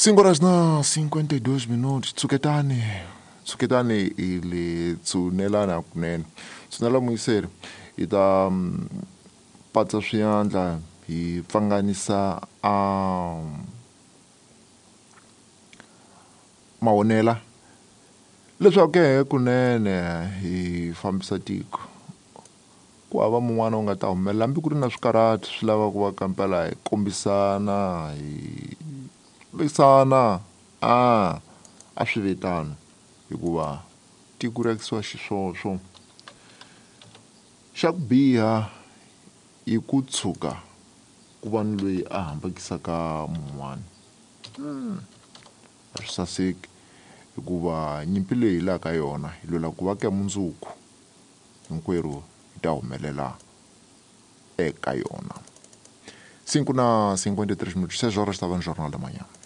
5 horas na 52 minutos. Tshuketani, tshuketani hi le tshunelana hakunene. Tshunela muyiseri hi ta mm, patsa swiandla hi pfanganisa a mavonela leswaku ke kunene hi fambisa tiko ku hava mun'wana u nga ta humelela hambi ku ri na swikarhati swi lava ku va kampela hi kombisana hi lwisana a a swi ve tano hikuva tiko ri akisiwa xiswoswo xa ku biha i ku tshuka ku va ni loyi a hambukisaka mun'wana a swi saseki hikuva nyimpi leyi hi laka yona hi lwela ku va ka mundzuku hinkwerhu hi ta humelela eka yona. 5 na 53 minutos, 6 horas estava no Jornal da Manhã.